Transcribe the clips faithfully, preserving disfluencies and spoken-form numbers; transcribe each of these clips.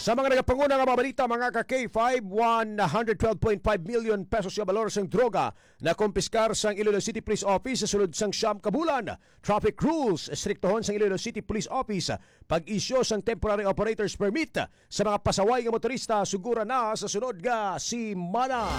Sa mga nagapanguna nga mga balita, mga ka K five, one hundred twelve point five million pesos nga balor sang droga na kumpiskar sang Iloilo City Police Office sa sulod sang siyam ka bulan. Traffic rules, estriktohon sang Iloilo City Police Office, pag-isyu sang temporary operator's permit sa mga pasaway nga motorista, sugura na sa sunod nga simana.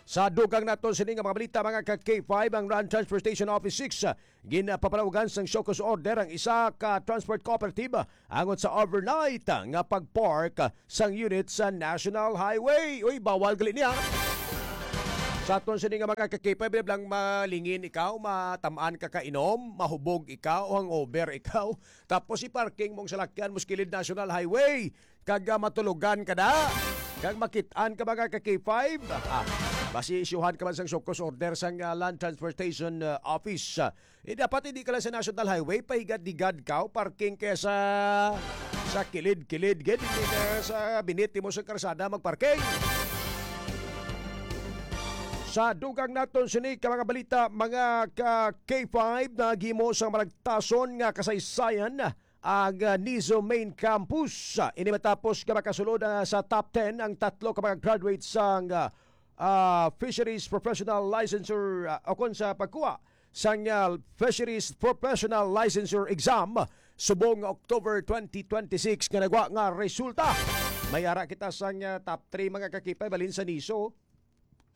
Sa dugang naton sini nga mga balita, mga ka K five, ang Land Transportation Office six, ah, ginpapanawagan sang show cause order ang isa ka transport cooperative, ah, angot sa overnight, ah, nga pag-park, ah, sang unit sa National Highway. Uy, bawal gali niya. Sa aton sini nga mga ka K five, lang malingin ikaw, matamaan ka kainom, mahubog ikaw, hangover ikaw, tapos i-parking mong salakyan mo sa kilid National Highway. Kag, ah, matulogan ka na. Kag makit-an ka, mga ka K five. Ah, basi isyuhan ka man sang show cause order sang, ah, Land Transportation, ah, Office. Ah, eh, dapat hindi ka lang sa National Highway, pahigad-higad ka, o parking kaya sa, sa kilid-kilid, gid, hindi ka sa biniti mo sa karsada magparking. Sa dugang naton sini ka mga balita, mga ka K five, naghimo sang malagtason nga kasaysayan ang, ah, Niso Main Campus. Ah, ini matapos nga makasulod, ah, sa top ten ang tatlo ka mga graduates sang, ah, ah, Fisheries Professional Licensure, ah, o kon sa pagkuha sang, ah, Fisheries Professional Licensure Exam subong nga October twenty twenty-six nga nagwa nga resulta. May ara kita sang, ah, top three, mga ka K five, balin sa Niso.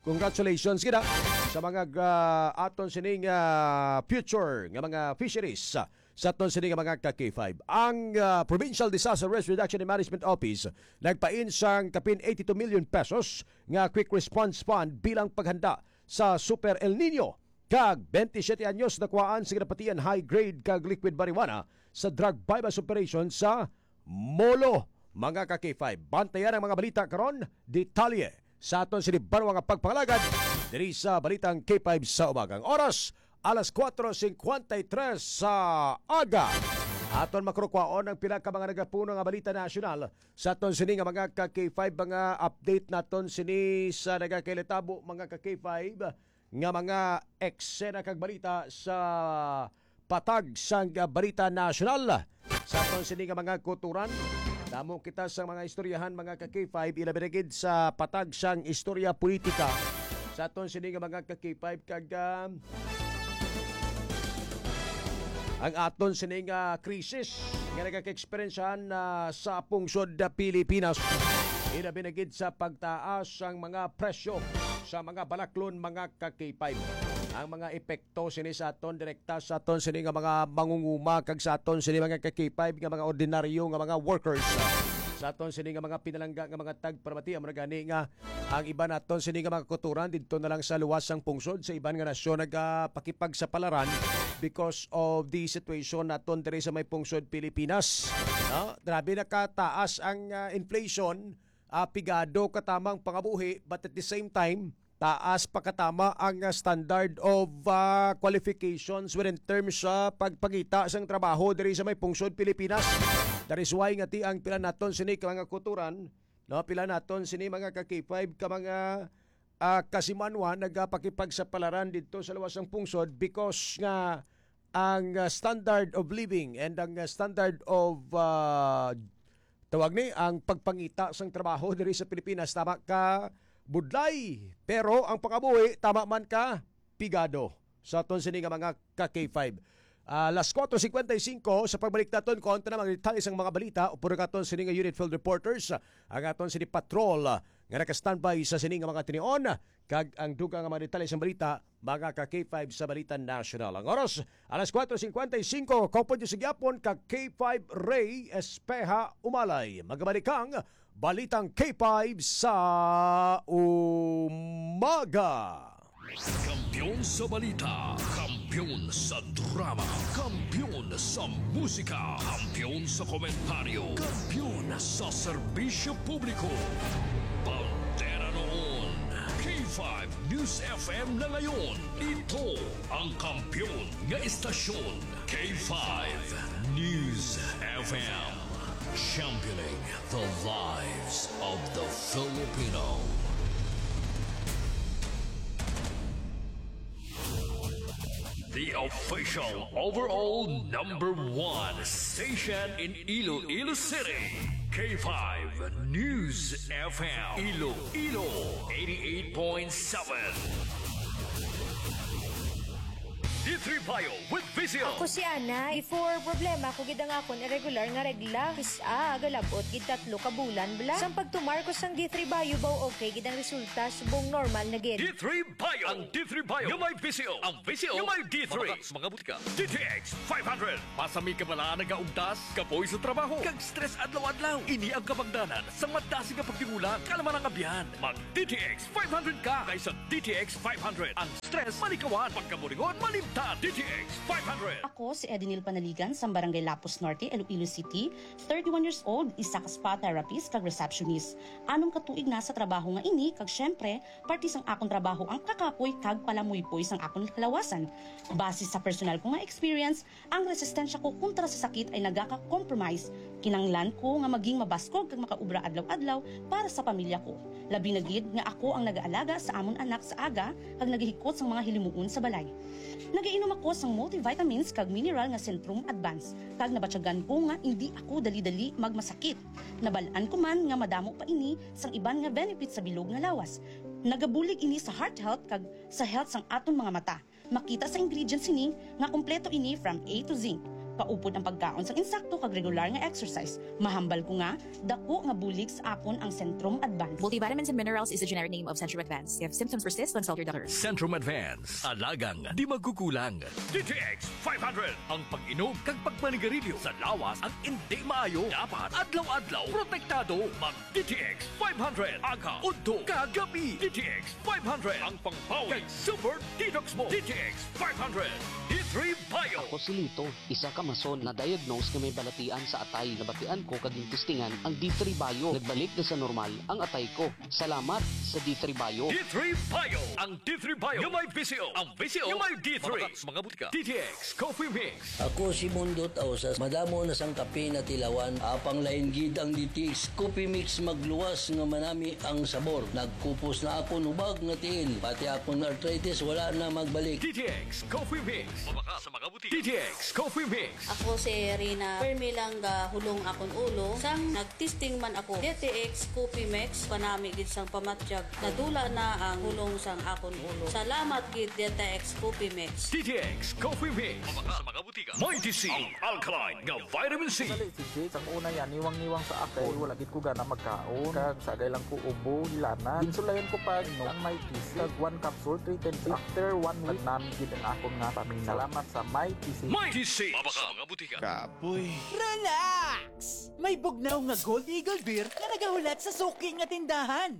Congratulations kita sa mga gra-, aton sining, ah, future nga mga fisheries, ah, sa aton sining nga mga ka K five. Ang, ah, Provincial Disaster Risk Reduction and Management Office nagpain sang kapin eighty-two million pesos nga quick response fund bilang paghanda sa Super El Nino, kag twenty-seven anyos nakuhaan sa ginapatian high grade kag liquid marijuana sa drug buy-bust operation sa Molo, mga ka K five. Bantayan ang mga balita karon, detalye sa aton sini banwa nga pagpangalagad diri sa Balitang K five sa Umaga. Ang oras, alas kuwatro singkwenta y tres sa aga. Aton makurukwaon ang pila ka mga nagapuno nga balita nasyonal sa aton sini nga mga ka K five, mga update naton sini sa nagakailatabo, mga ka K five, nga mga eksena kag balita sa patag sang, ah, balita nasyonal. Sa aton sini nga mga kutoran, damo kita sa mga istoryahan, mga ka K five, ilabi na gid sa patag sang istorya politika. Sa aton sini nga mga ka K five, kag, ah, ang aton sini nga krisis nga nagaka-eksperyensyahan, ah, sa pungsod, ah, Pilipinas, ilabi na gid sa pagtaas sang mga presyo sa mga balaklon, mga ka K five. Ang mga epekto sini sa aton direkta, sa aton sini nga mga mangunguma, kag sa aton sini mga ka K five nga mga ordinaryo nga mga workers, sa aton sini nga mga pinalangga nga mga tagparamati, amo na gani nga ang iban naton sini nga mga kutoran didto na lang sa luwas sang pungsod, sa iban nga nasyon nagapakipagsapalaran because of the situation naton diri sa may pungsod Pilipinas. No? Grabe na kataas ang, ah, inflation, ah, pigado katamang pangabuhi, but at the same time, taas pa katama ang, ah, standard of, ah, qualifications when in terms sa pagpangita sang trabaho diri sa may pungsod Pilipinas. That is why nga ti ang pila naton sini ka mga kutoran, no, pila naton sini mga ka K five ka mga, ah, kasimanwa nagapakipagsapalaran didto sa luwas sang pungsod because nga ang, ah, standard of living and ang, ah, standard of, ah, tawag ni, ang pagpangita sang trabaho diri sa Pilipinas tama ka budlay, pero ang pangabuhi tama man ka pigado. Sa aton sini nga mga ka K five. Ah, alas kuwatro singkwenta y singko, sa pagbalik naton, kontra na mga detalye sang mga balita, upod naton sini nga unit field reporters, ang aton sini patrol, ah, nga naka-standby sa sini nga mga tinion, kag ang dugang nga mga detalye sang balita, mga ka K five sa Balita Nasyonal. Ang oras, alas kuwatro singkwenta y singko, kaupod niyo sa gihapon ka K five Ray Espeha Umalay. Magabalik ang Balitang K five sa umaga. Kampiyon sa balita, kampiyon sa drama, kampiyon sa musika, kampiyon sa komentaryo, kampiyon sa serbisyo publiko. Bandera noon, K five News F M na ngayon. Ito ang kampiyon nga istasyon, K five News F M. Championing the lives of the Filipino. The Official overall number one station in Iloilo City. K five News F M Iloilo eighty-eight point seven. D three Bio with Visio. Ako si Ana. Before, problema ko gid ang akon irregular nga regla. Kis-a, galabot gid tatlo ka bulan bala. Sang pagtumar ko sang D three Bio, baw okay gid ang resulta, subong normal na gid. D three Bio. Ang D three Bio nga may Visio. Ang Visio nga may D three. Mabakal sa mga butika. D T X five hundred. Masami ka bala nagaugtas, kapoy sa trabaho, kag stress adlaw-adlaw. Ini ang kabangdanan sang madasig nga pagtingulang. Kalaman ang abyan. Mag D T X five hundred ka kaysa D T X five hundred. Ang stress malikawan, pagkaburingon malimtan. D T X five hundred. Ako si Edinil Panaligan sa Barangay Lapus Norte, Iloilo City, thirty-one years old, isa ka spa therapist kag receptionist. Anom ka tuig na sa trabaho nga ini, kag siyempre, parte sang akon trabaho ang kakapoy kag palamuypoy sang akon kalawasan. Base sa personal ko nga experience, ang resistensya ko kontra sa sakit ay nagaka-compromise. Kinanglan ko nga maging mabaskog kag makaobra adlaw-adlaw para sa pamilya ko. Labi na gid nga ako ang nagaalaga sa amon anak sa aga kag nagahikot sang mga hilimuon sa balay. Nagainom ako sang multivitamins kag mineral nga Centrum Advance, kag nabatyagan ko nga indi ako dali-dali magmasakit. Nabal-an ko man nga madamo pa ini sang iban nga benefits sa bilog nga lawas. Nagabulig ini sa heart health kag sa health sang aton mga mata. Makita sa ingredients sini nga kompleto ini from A to Z. Kaupod ang pagkaon sang insakto kag regular nga exercise. Mahambal ko nga dako nga bulig sa akon ang Centrum Advance. Multivitamins and minerals is the generic name of Centrum Advance. If symptoms persist, consult your doctor. Centrum Advance, alagang di magkukulang. D T X five hundred, ang pag-inom kag pagmanigarilyo sa lawas ang indi maayo. Dapat adlaw-adlaw protektado. Mag D T X five hundred, aga, udto, kag gabi. D T X five hundred, ang pangbawi kag super detox mo. D T X five hundred, D three Bio. Ako si Lito, isa ka mason na diagnose nga may balatian sa atay. Nabatian ko kag gintistingan ang D three Bio. Nagbalik na sa normal ang atay ko. Salamat sa D three Bio. D three Bio. Ang D three Bio nga may Visio. Ang Visio nga may D three. Mabakal sa mga butika. D T X Coffee Mix. Ako si Mundo Tausas. Madamo na sang kape na tilawan. Apang lain gid ang D T X Coffee Mix, magluwas nga manami ang sabor. Nagkupos na akon hubag nga tiil. Pati akon arthritis wala na magbalik. D T X Coffee Mix. Mabakal sa mga butika. D T X Coffee Mix. Ako si Rina. Permi lang gahulong akon ulo. Sang nagtesting man ako, D T X Coffee Mix, panami gid sang pamatyag. Nadula na ang hulong sang akon ulo. Salamat gid, D T X Coffee Mix. D T X Coffee Mix. Mabakal sa mga butika. Mighty C, ang alkaline nga vitamin C. Sali si Jade, sang una yan, niwang-niwang sa ako. Wala gid ko gana magkaon. Kag sa agay lang ko ubo, hilanat. Ginsulayan ko pa, inom ang Mighty C. Kag one capsule, three times. After one week, nagnami gid ang akon nga paminaw. Salamat sa Mighty C. Mighty C. Mabakal sa mga butika. Kapoy. Relax! May bugnaw nga Gold Eagle Beer nga nagahulat sa suki nga tindahan.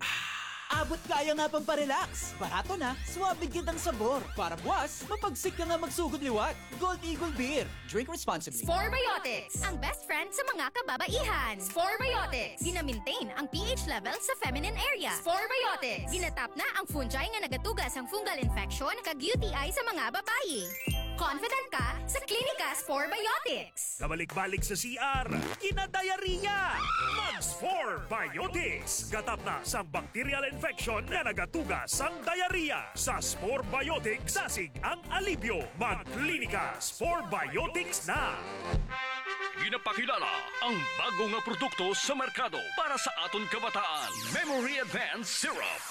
Abot kaya nga pamparelax. Barato na, suabe gid ang sabor. Para buwas, mapagsik ka nga magsugod liwat. Gold Eagle Beer. Drink responsibly. Spore Biotics, ang best friend sa mga kababaihan. Spore Biotics, gina-maintain ang P H level sa feminine area. Spore Biotics, ginatap na ang fungi nga nagatuga sang fungal infection kag U T I sa mga babayi. Confident ka sa Klinika Spore Biotics. Kabalik-balik sa C R, kinadiarrhea. Mag Spore Biotics. Gatap na sang bacterial infection nga nagatuga sang diarrhea. Sa Spore Biotics, dasig ang alibyo. Mag Klinika Spore Biotics na. Ginapakilala ang bago nga produkto sa merkado para sa aton kabataan, Memory Advance Syrup.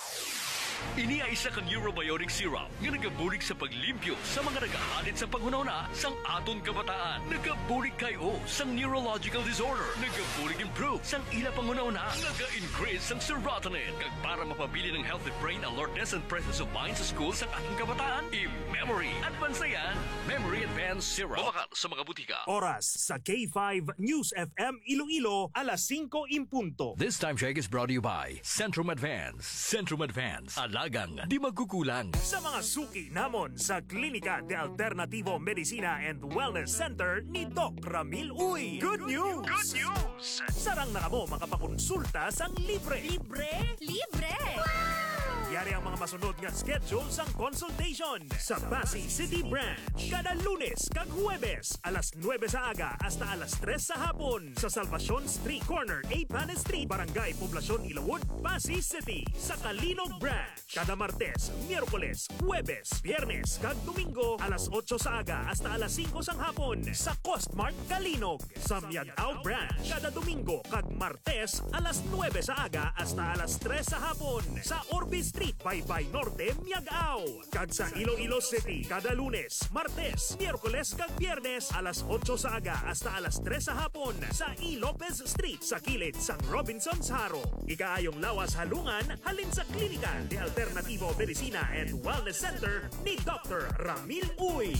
Ini ay isa ka neurobiotic syrup nga nagabulig sa paglimpyo sa mga nagahalin sa panghunahuna sang aton kabataan. Nagabulig kay o sang neurological disorder. Nagabulig improve sang ila panghunahuna. Naga-increase sang serotonin. Kag para mapabilin ang healthy brain alertness and presence of mind sa school sang aton kabataan, i-memory advance na yan. Memory Advance Syrup. Mabakal sa mga butika. Oras sa K five News F M Iloilo, alas singko in punto. This time check is brought to you by Centrum Advance. Centrum Advance, alagang di magkukulang. Sa mga suki namon sa Klinika de Alternativo Medicina and Wellness Center ni Doc Ramil Uy. Good news! Good news! Sarang na kamo makapakonsulta sang libre. Libre? Libre! Wow! Yari ang mga masunod nga schedule sang consultation sa Passi City Branch. Kada Lunes kag Huwebes, alas nuebe sa aga hasta alas tres sa hapon, sa Salvacion Street, corner Eighth Street, Barangay Poblacion, Ilawod, Passi City. Sa Calinog Branch, kada Martes, Miyerkules, Huwebes, Biyernes, kag Domingo, alas otso sa aga hasta alas singko sang hapon, sa Costmart Calinog. Sa Miag-ao Branch, kada Domingo kag Martes, alas nuebe sa aga hasta alas tres sa hapon, sa Orbe Street, Baybay Norte, Miag-ao. Kag sa Iloilo City, kada Lunes, Martes, Miyerkules, kag Biyernes, alas otso sa aga hasta alas tres sa hapon, sa E. Lopez Street, sa kilid sang Robinson's Haro. Ikaayong lawas halungan halin sa Klinika de Alternativo Medicina and Wellness Center ni Doctor Ramil Uy.